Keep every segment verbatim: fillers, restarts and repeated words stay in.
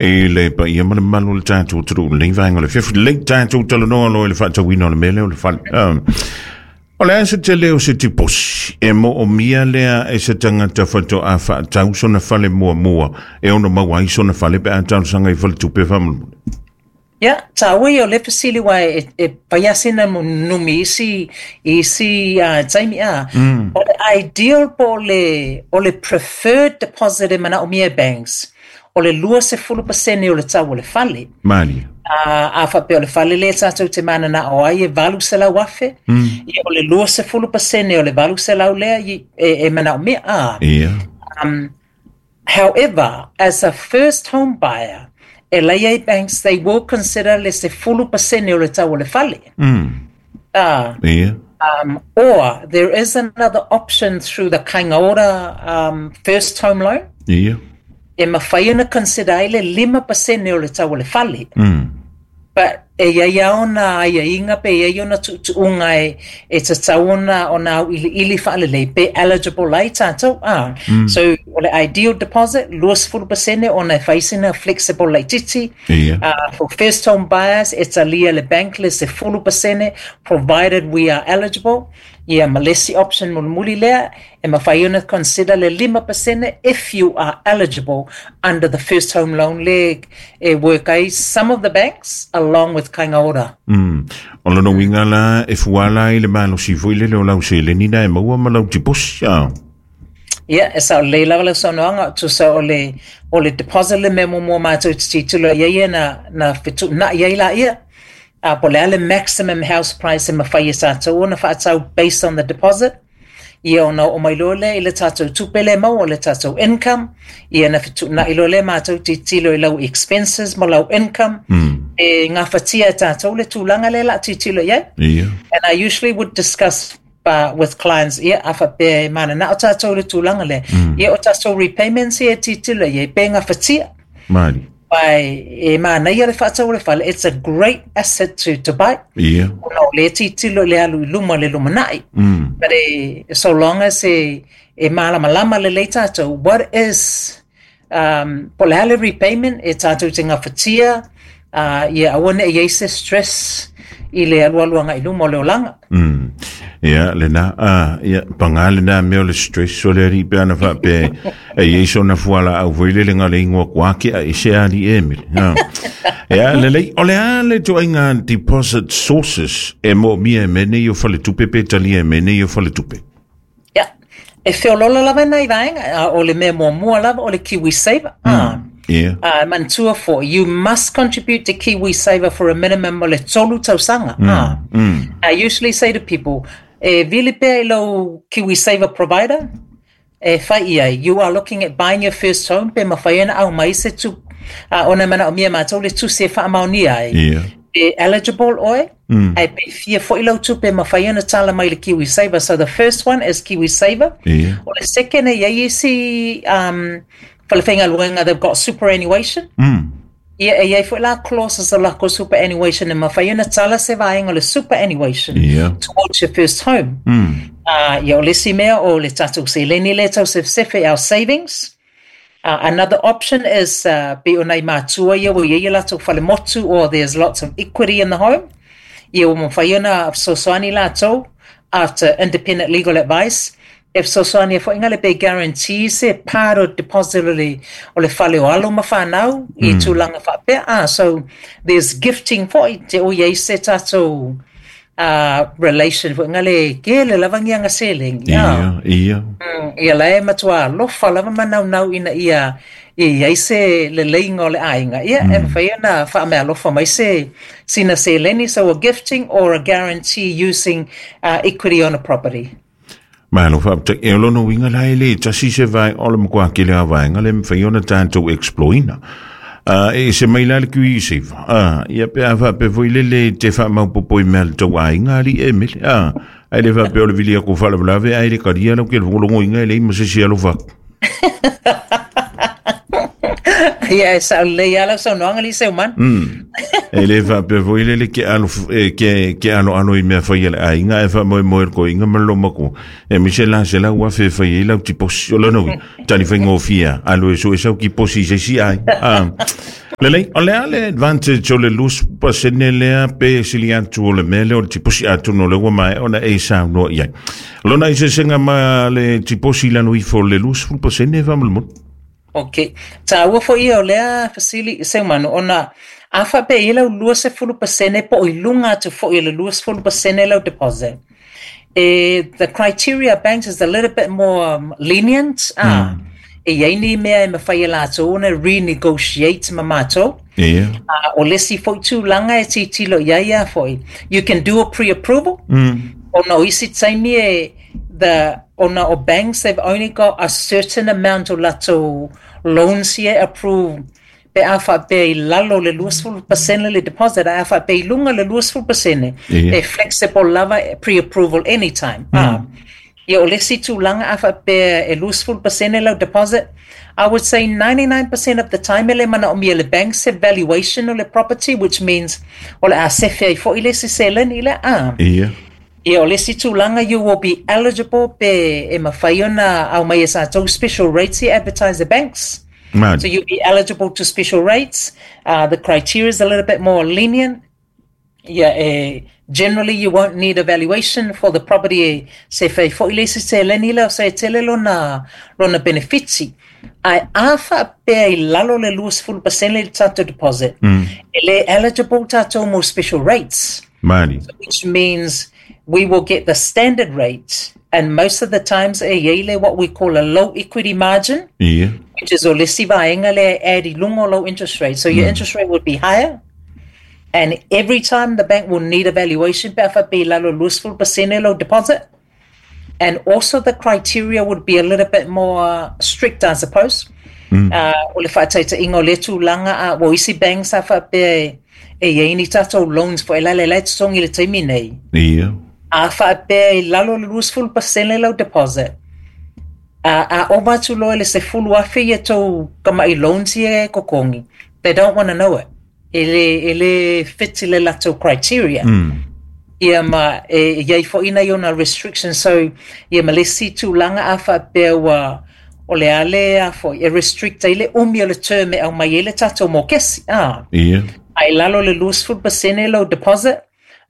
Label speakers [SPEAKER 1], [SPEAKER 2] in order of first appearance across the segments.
[SPEAKER 1] I le paia ma le mamalu o le tatou atunuu i lenei vaega o le afiafi lelei tatou talanoa loa i le faatauina o le mea lea o le fale. Um, o le a se tele o se tiposi e moomia lea e se tagata faatoa faatau sona fale muamua e ono maua ai sona fale pe a talosaga i faletupe faamolemole?
[SPEAKER 2] Ia, taua ia o le fesili aua e, e fai lava sina numi isi, isi uh, taimi a. Mm. O le ideal po o le, o le preferred deposit e manaomia e banks, o le luasefulu pasene o le tau o le fale.
[SPEAKER 1] Malie.
[SPEAKER 2] A, a faapea o le fale lea tatou te mananao ai e valu selau afe, mm. ia o le luasefulu pasene o le valu selau lea e, e manaomia. A.
[SPEAKER 1] Ia.
[SPEAKER 2] Um, however, as a first home buyer, e lei ai banks, they will consider le sefulu pasene o le tau o le fale.
[SPEAKER 1] Mm.
[SPEAKER 2] Ah,
[SPEAKER 1] Ia.
[SPEAKER 2] um, or there is another option through the Kainga Ora um, first home loan.
[SPEAKER 1] Ia.
[SPEAKER 2] E mawhai ona consider ai le lima pasene o le tau o le fale.
[SPEAKER 1] Mm.
[SPEAKER 2] But e iai a ona aiaiga pe iai ona tuutuuga e, e tatau ona ona auiliili faalelei pe eligible ai tatou. Ah. Mm. So o le ideal deposit, luasefulu pasene ona e fai sina flexible laitiiti.
[SPEAKER 1] Ia.
[SPEAKER 2] Uh, for first home buyers, e talia le bank le sefulu pasene provided we are eligible. Ia ma le isi option mulimuli lea, e mafai ona consider le lima pasene if you are eligible under the first home loan le e work ai some of the banks along with Kainga Ora.
[SPEAKER 1] Mm. O lona uiga la e fuala ai le malosi foi lele o lau seleni na e maua ma lau tiposi. Ah.
[SPEAKER 2] Ia, e sao lelei lava lau saunoaga, tusa o le, o le deposit le mea muamua matou te tilotilo i ai ia na, na fetuunai ai laia. Uh, po o le a le maximum house price e mafai e tatou ona faatau based on the deposit. Ia ona oo mai loa lea i le tatou tupe le maua, o le tatou income. Ia na fetuunai loa lea matou tilotilo i lau expenses ma lau income.
[SPEAKER 1] Mm.
[SPEAKER 2] E gafatia e tatou le tulaga lea o le a tilotilo i ai.
[SPEAKER 1] Ia.
[SPEAKER 2] And I usually would discuss uh, with clients, ia, a faapea e mananao tatou le tulaga lea. Mm. Ia o tatou repayments ia e tilotilo i ai, pe gafatia.
[SPEAKER 1] Malie.
[SPEAKER 2] Ai, e manaia le faatau o le fale, it's a great asset to, to buy.
[SPEAKER 1] Ia.
[SPEAKER 2] Ona o lea tilotilo i le alu i luma le lumanai.
[SPEAKER 1] Mm.
[SPEAKER 2] But e, so long as e, e malamalama lelei tatou, what is, um, po o le a le repayment e tatou te gafatia, uh, ia aua ne i ai se stress i le alualu agai i luma o le olaga.
[SPEAKER 1] Mm. Ia, lena, ah, ia, paga lena mea o le stress o le alii pe ana faapea e iai sona fualaau foi lele ga le igoa kuake a ese ali e mele. Ah. Ia, lelei, o le a le ituaiga deposit sources e moomia e mea nei o faletupe pe talia e mea nei o faletupe?
[SPEAKER 2] Ia, e feoloolo lava nai vaega, a o le mea muamua lava o le Kiwi Saver. Ah.
[SPEAKER 1] Ia.
[SPEAKER 2] Uh, manatua foi, you must contribute to Kiwi Saver for a minimum o le tolu tausaga. Mm. Ah.
[SPEAKER 1] Mm.
[SPEAKER 2] I usually say to people, e vili pea i lau Kiwi Saver provider, e fai i ai, you are looking at buying your first home, pe mafai ona aumai se tu, uh, ona manaomia matou le tusi e faamaonia ai.
[SPEAKER 1] Ia.
[SPEAKER 2] E eligible oe,
[SPEAKER 1] Mm.
[SPEAKER 2] ai pe fia foi lau tupe mafai ona tala mai le Kiwi Saver. So the first one is Kiwi Saver.
[SPEAKER 1] Ia.
[SPEAKER 2] O le second e iai isi um, falefaigaluega, they've got superannuation.
[SPEAKER 1] Mm.
[SPEAKER 2] Ia, e iai foi la clauses o lako superannuation e mafai ona tala se vaega o le superannuation
[SPEAKER 1] Ia.
[SPEAKER 2] towards your first home.
[SPEAKER 1] Mm.
[SPEAKER 2] Uh, ia o le isi mea o le tatou seleni lea tau sefesefe, our savings. Uh, another option is uh, pe o nai matua ia ua iai o latou falemotu or there's lots of equity in the home. Ia ua mafai ona fesoasoani latou after independent legal advice. E fesoasoani ai foi le pe guarantee se part o deposit o le, o le fale o alo ma whanau i tulaga faapea. Ah, so there's gifting foi te o iai se tatou uh, relation foi ngale kele lava ngianga seleng.
[SPEAKER 1] Ia, ia.
[SPEAKER 2] Mm, ia la e matua alofa lava manaunau ina ia ia iai se leleiga o le aiga. Ia e mafai ona faameaalofa mai se sina seleni, so a gifting or a guarantee using uh, equity on a property.
[SPEAKER 1] Malo faafetai. E o lona uiga la e le tasi se vae o le matua tele a vaega le mafai ona tatou explore-ina. Uh, e se mai la le Kiwi Saver. Ah, ia pe a faapea foi lele te faamaopoopo i mea a le tou aiga alii e mele. Ah, ae le faapea o le vili aku faalavelave ae le kalia lau ke le logologoina e leai ma se isi alofa atu.
[SPEAKER 2] Ia e sao lelei lava lau saunoaga alii Seumanu.
[SPEAKER 1] Mm. E le faapea foi lele ke alo e, ke ke alo alo i mea fai a le aiga e faamoemoe le koiga ma le lomaku. E mise la se lau afe e fai ai lau tiposi o lona uiga. Tali faigofie alu e sue sau tiposi i se isi aiga. Ah. Lelei, o le a le advantage o le luasefulu pasene lea pe sili atu o le mea lea o le tiposi atonu o le ua maea ona e saunoa i ai. Lona eseesega ma le tiposi i lalo ifo o le luasefulu pasene faamolemole.
[SPEAKER 2] Ok. Tāua foi ia o lea fesili Seumanu ona a faapea i lau luasefulu pasene po o i luga atu foi o le luasefulu pasene lau deposit. E, the criteria banks is a little bit more um, lenient. Ah, mm. E iai ni mea e mawhai e lātou ona renegotiate ma mātou.
[SPEAKER 1] Yeah.
[SPEAKER 2] Uh, o le isi foi tulaga e titilo i ai a foi. You can do a pre-approval.
[SPEAKER 1] Mm.
[SPEAKER 2] Ona o isi taimi e the ona o banks they've only got a certain amount o latou loans here approve pe a faapea i lalo le luasefulu pasene le deposit a faapea i luga le luasefulu pasene
[SPEAKER 1] Yeah.
[SPEAKER 2] e flexible lava pre-approval anytime. Mm. Ah. Ia o le isi tulaga a faapea e luasefulu pasene lau deposit, I would say ninety-nine percent of the time e le manaomia le bank se valuation o le property, which means o le a sefe ai foi le isi seleni le a.
[SPEAKER 1] Yeah.
[SPEAKER 2] Ia o le isi tulaga you will be eligible pe e mawhai ona au mai e sa tau special rates i advertise the banks.
[SPEAKER 1] Man.
[SPEAKER 2] So you'll be eligible to special rates. Uh, the criteria is a little bit more lenient. Yeah, eh, generally you won't need a valuation for the property e se fai foi le isi seleni lea o se tele lona, lona benefiti. Ai a faapea i lalo le luasefulu pasene le tatou deposit.
[SPEAKER 1] Mm.
[SPEAKER 2] E le eligible tatou mo special rates.
[SPEAKER 1] Mani.
[SPEAKER 2] Which means we will get the standard rate, and most of the times e iai le what we call a low equity margin,
[SPEAKER 1] Yeah.
[SPEAKER 2] which is o le isi vaega lea e add i luga o low interest rate. So your
[SPEAKER 1] Mm.
[SPEAKER 2] interest rate would be higher, and every time the bank will need a valuation pe a faapea i lalo luasefulu pasene low deposit. And also the criteria would be a little bit more strict, I suppose.
[SPEAKER 1] Mm.
[SPEAKER 2] Uh, o le whaataita o le tulaga a o isi banks a faapea e, e iai ni tatou loans fo e lale lai totogi le taimi nei.
[SPEAKER 1] Yeah.
[SPEAKER 2] A faapea i lalo le luasefulu pasene lau deposit. A, a ova atu loa i le sefulu afe ia tou kama'i loans ia e kokogi. They don't want to know it. E le, e le fit i le latou criteria.
[SPEAKER 1] Mm.
[SPEAKER 2] Ia ma e iai foi nai ona restrictions. So ia ma le isi tulaga a faapea ua o le a le a foi e restrict ai le umi o le term e aumai ai le tatou mokesi. Ah.
[SPEAKER 1] Yeah.
[SPEAKER 2] Ai lalo le luasefulu pasene lau deposit.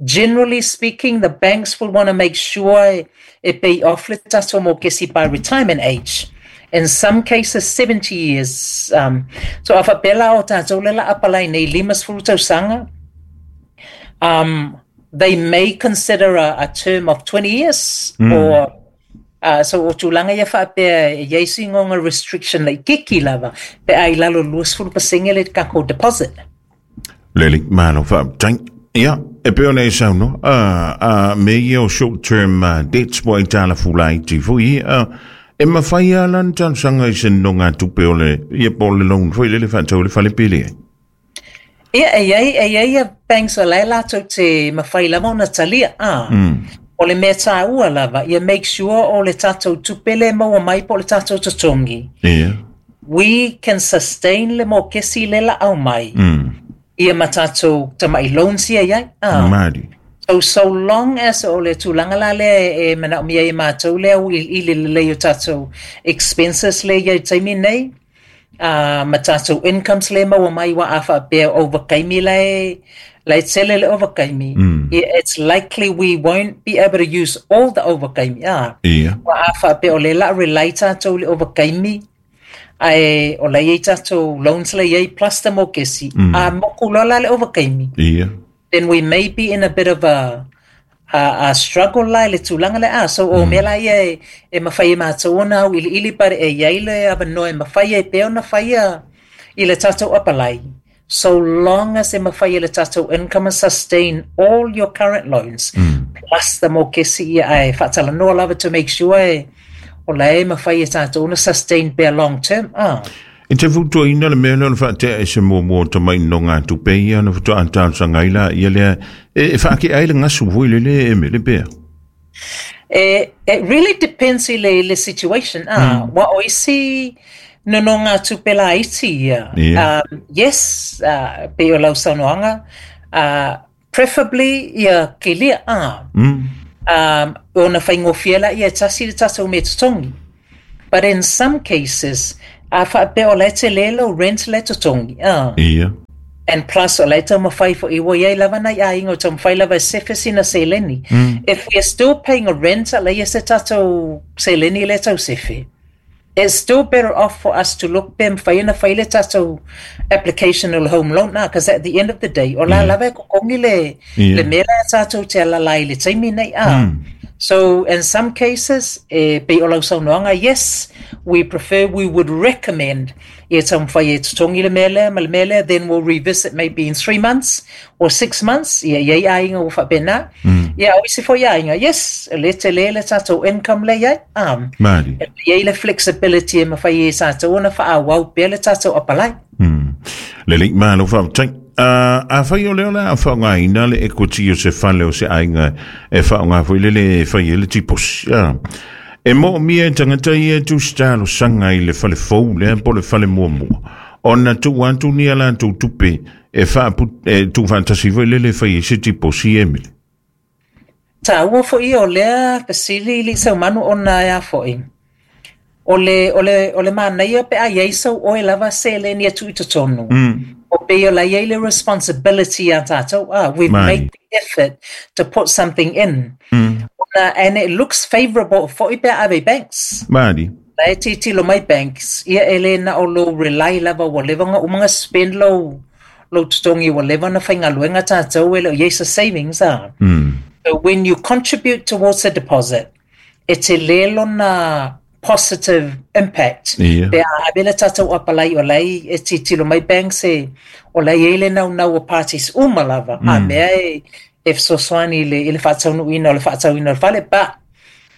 [SPEAKER 2] Generally speaking, the banks will want to make sure e pay off le tatou mokesi by retirement age. In some cases, seventy years. Um, so a faapea la o tatou le la apalai nei limasefulu tausaga, um, they may consider a, a term of twenty years
[SPEAKER 1] Mm.
[SPEAKER 2] or uh, so o tulaga ia faapea e iai sigoga restriction laitiiti lava pe a i lalo luasefulu pasene le tatou deposit.
[SPEAKER 1] Lelei, malo faafetai. Ia, e pei ona e saunoa, uh, uh, me ia o short term uh, debts po ai tala fulaiti foi, uh, e mawhai a lan talosaga i se nonogatupe o le, ia po o le loan foi lele faatau le fale pele ai.
[SPEAKER 2] Ia e iai e iai ia banks o lae latou te mawhai lava ona talia. Ah.
[SPEAKER 1] Mm.
[SPEAKER 2] O le mea tāua lava, ia make sure o le tatou tupe le maua mai po o le tatou totogi.
[SPEAKER 1] Ia.
[SPEAKER 2] We can sustain le mokesi le la au mai.
[SPEAKER 1] Mm.
[SPEAKER 2] Ia ma tatou tama'i loans ia iai. Ah.
[SPEAKER 1] Mali.
[SPEAKER 2] So, so long as o le tulaga la lea e manaomia e matou lea ua iliili lelei o tatou expenses le ia i taimi nei, uh, ma tatou incomes le maua mai wa a faapea ovakaimi lae lae tele le ovakaimi.
[SPEAKER 1] Mm.
[SPEAKER 2] It's likely we won't be able to use all the ovakaimi. Ah.
[SPEAKER 1] Ia.
[SPEAKER 2] Wa a faapea o le la rely tatou le ovakaimi, ae o la iai tatou loans le iai plus the mokesi.
[SPEAKER 1] Mm.
[SPEAKER 2] A moku loa la le ovakaimi.
[SPEAKER 1] Ia.
[SPEAKER 2] Then we may be in a bit of a a, a struggle la i le tulaga le a. So o mea la ia e, e mawhai e mātou ona au iliili pare e iai le avanoa e mawhai e pea ona whaia i le tatou apalai. So long as e mawhai e le tatou income and sustain all your current loans,
[SPEAKER 1] Mm.
[SPEAKER 2] plus the mokesi ia ai whaatalanoa lava to make sure e o la e mawhai e tatou ona sustain pea long term. Ah.
[SPEAKER 1] E te fautuaina le mea lea o le faatea e se muamua o tama'i nonogatupe ia ona faatoa talosaga ai laia lea e, e faakea ai le gasu foi lele e mele pea.
[SPEAKER 2] Eh, it really depends i le, le situation. Ah, mm. Wa o isi nonogatupe laiti ia.
[SPEAKER 1] Ia.
[SPEAKER 2] Um, yes, uh, pe o lau saunoaga, uh, preferably ia kilia. Ah.
[SPEAKER 1] Mm.
[SPEAKER 2] Um, ona whaingofie la ia tasi le tatou me totogi. But in some cases, A faapea o la e tele lou rent le totogi. Uh.
[SPEAKER 1] Ia.
[SPEAKER 2] And plus o la e taumafai fo'i ua iai lava nai aiga o taumafai lava e sefe sina seleni.
[SPEAKER 1] Mm.
[SPEAKER 2] If we are still paying a rent a leai se tatou seleni le tau sefe, it's still better off for us to look pe mafai ona fai le tatou application o le home loan na, because at the end of the day, o la
[SPEAKER 1] Yeah.
[SPEAKER 2] lava e kokogi le,
[SPEAKER 1] Yeah.
[SPEAKER 2] le mea la tatou te alalai i le taimi nei. Ah.
[SPEAKER 1] Mm.
[SPEAKER 2] So in some cases, e pei o lau saunoaga, yes, we prefer, we would recommend ia taumafai e totogi le mea lea ma le mea lea, then we'll revisit maybe in three months or six months, ia iai aiga ua faapena.
[SPEAKER 1] Mm.
[SPEAKER 2] Ia o isi foi aiga, yes, le tele le tatou income le iai. Um,
[SPEAKER 1] Mali.
[SPEAKER 2] e iai le flexibility e mafai e tatou ona faaauau pea le tatou apalai.
[SPEAKER 1] Mm. Lelei malo faafetai. Uh, afai o lea o le a faaaogaina le equity o se fale o se aiga e faaaoga foi lele e fai ai le tiposi. Ah. E moomia e tagata ia e tusitalosaga i le fale fou lea po le fale muamua. Ona tuu atu ni a latou tupe e faapu e tuufaatasi foi lele e fai ai se tiposi e mele.
[SPEAKER 2] Taua foi o lea fesili i le saumanu ona e a foi. O le, o le, o le manaia pe a iai sau oe lava seleni e tuu i totonu.
[SPEAKER 1] Mm.
[SPEAKER 2] O pei o la iai le responsibility a tātou. Ah, we've
[SPEAKER 1] Mai.
[SPEAKER 2] made the effort to put something in.
[SPEAKER 1] Mm.
[SPEAKER 2] Ona, and it looks favourable foi pe a ave i banks.
[SPEAKER 1] Mali.
[SPEAKER 2] La e tilotilo mai banks, ia e le na o lou rely lava ua leva ona uma ona spend lou, lou totogi ua leva ona faigaluega tātou e le o iai sa savings ah.
[SPEAKER 1] Mm.
[SPEAKER 2] So when you contribute towards the deposit, e tele lona positive impact.
[SPEAKER 1] Ia.
[SPEAKER 2] Pe a ave le tatou apalai o lai e tilotilo mai banks e o lai e le naunau o parties uma lava. Mm. A mea e, e fesoasoani i le, i le faataunuuina o le faatauina o le fale, but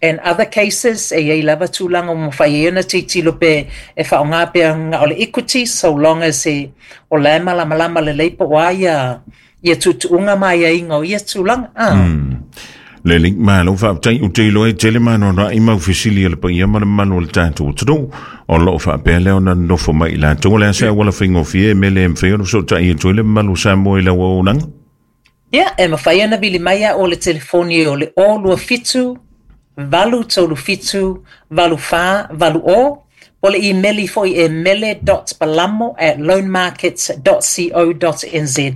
[SPEAKER 2] in other cases, e iai lava tulaga ua mafai ai ona tilotilo pe e faaaoga pea na o le equity, so long as e o la e malamalama lelei po o a ia, ia tuutuuga ma aiaiga o ia tulaga. Ah.
[SPEAKER 1] Mm. Lelei malo faafetai o te iloa e tele manoanoa'i mau fesili a le paia ma le mamalu o le tatou atunuu o loo faapea lea ona nofo mai i latou o le a se auala faigofie e mea le mafai ona fesoota'i atu ai le mamalu o Samoa i lau auaunaga.
[SPEAKER 2] Ia, e mafai ona vili mai a o le telefoni o le o lua fitu, valu tolu fitu, valu fa, valu o, po le imeli foi e mele dot palamo at loanmarkets dot co dot nz.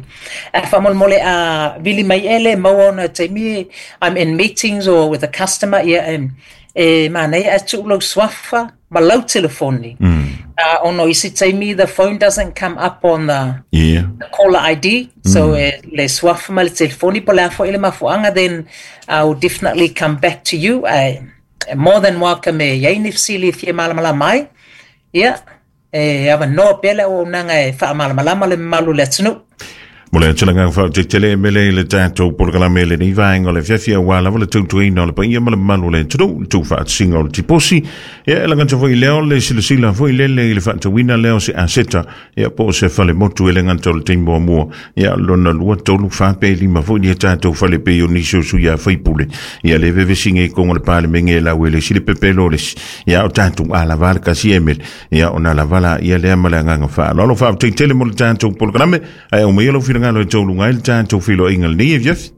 [SPEAKER 2] A faamolemole a vili mai e le maua ona taimi I'm in meetings or with a customer, ia e, e manaia a tuu lau suafa ma lau telefoni.
[SPEAKER 1] Mm.
[SPEAKER 2] Uh, ona o isi taimi the phone doesn't come up on the
[SPEAKER 1] Ia.
[SPEAKER 2] the caller I D, so mm. e, le suafa ma le telefoni po le a foi le mafuaaga, then I'll definitely come back to you. I, more than welcome e iai ni fesili e fia malamalama ai. Ia, e avanoa pea le auaunaga e faamalamalama le mamalu o le atunuu.
[SPEAKER 1] Mo le atulaga faaatetele e mele i le tatou polokalame i lenei vaega o le afiafi auā lava le tautuaina o le paia ma le mamalu o le atunuu le tuufaatasiga o le tiposi. Ia e lagata foi lea o le silasila foi lele i le faatauina lea o se aseta ia po o se falemotu e le gata o le taimi muamua ia lona lua tolu fa pe lima foi ni tatou fale pei o nisi o sui a faipule ia le vevesiga i koga o le palemege e lau e le isi le pepelo o le isi ia o tatou alava le kasi e mele ia ona lava la ia lea ma le agaga faaaloalo faafetai tele mo le tatou polokalame ae aumaia lau finagalo e tauluga ai le tatou feiloaiga lenei afiafi.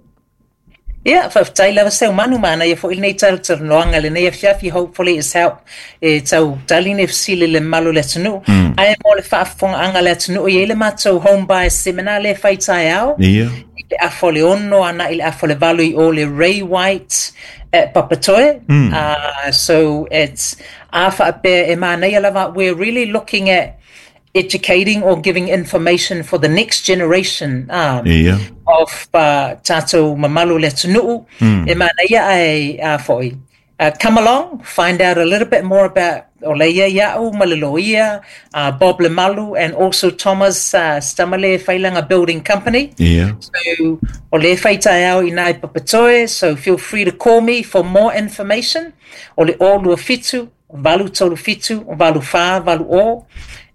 [SPEAKER 2] Ia, faafetai lava Seumanu manaia foi lenei talatalanoaga lenei afiafi, hopefully it's help e tau tali ni fesili le mamalu o le atunuu.
[SPEAKER 1] Mm.
[SPEAKER 2] Ae mo le faafofogaaga a le atunuu e iai le matou home buyer seminar lea e fai taeao.
[SPEAKER 1] Ia.
[SPEAKER 2] I le afa o le ono ana i le afa o le valu i o le Ray White at Papatoe.
[SPEAKER 1] Mm.
[SPEAKER 2] Uh, so it's a faapea e manaia lava, we're really looking at educating or giving information for the next generation um,
[SPEAKER 1] Ia.
[SPEAKER 2] of uh, tatou mamalu o le atunuu.
[SPEAKER 1] Mm.
[SPEAKER 2] E manaia ai a foi. Uh, come along, find out a little bit more about o leia ia'u ma le loia, uh, Bob Lemalu, and also Thomas uh, Stamale Failanga Building Company.
[SPEAKER 1] Ia.
[SPEAKER 2] So, o le fai taeao i nai Papatoe, so feel free to call me for more information. O le o lua fitu, valu tolu fitu, valu fa, valu o.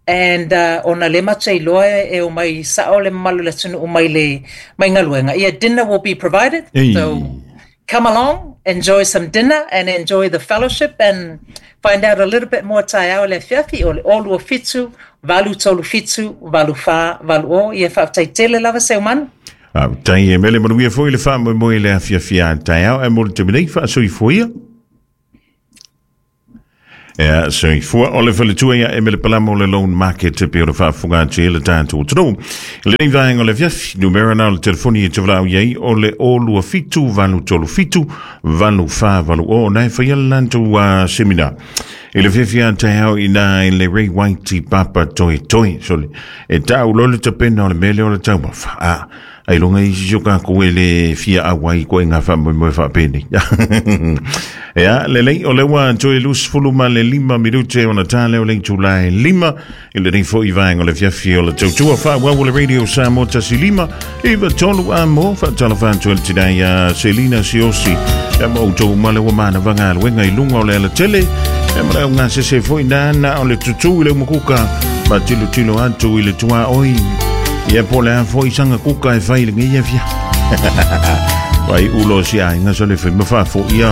[SPEAKER 2] And uh, ona le matou iloa e o mai sao le mamalu o le atunuu mai le mai galuega. Ia, dinner will be provided.
[SPEAKER 1] Ei.
[SPEAKER 2] So come along, enjoy some dinner and enjoy the fellowship and find out a little bit more taeao le afiafi o le o lua fitu, valu tolu fitu, valu fa, valu o. Ia faafetai tele lava Seumanu.
[SPEAKER 1] Faafetai e mele manuia foi le faamoemoe i le afiafi a taeao ae mo le taimi nei faasoifua ia. Ia soifua o le faletua ia Emele Palama o le Loan Market e pei o le faafofoga atu ai le tatou atunuu. I lenei vaega o le afiafi, numera na o le telefoni e te valaau i ai o le o lua fitu valu tolu fitu valu fa valu o na e faia le latou uh, seminar. I le fiafia taeao i na i le Ray White i Papa Toi Toi. Sole, e tau lo le tapena o le mele o le taumafa. Ah, ai longa i sisi o kākou e le fia auai ko e ngā wha wha pēnei. Ia, lelei, o le ua toe lusifulu ma le lima minute o na tāle o le itulā e lima i lenei foi vaega o le afiafi o le tautua faaauau o le Radio Samoa tasi lima iva tolu a mo faatalofa atu e le tinai a Selina Siosi ia ma outou ma le ua manava galuega i luga o le alatele ia ma le augasese foi nana o le tutū i le umukuka ma tilotilo atu i le tuaoi ia po le a foi saga kuka e fai i lenei afiafi vai ulo si aiga so le fai ma faafoʻi ia.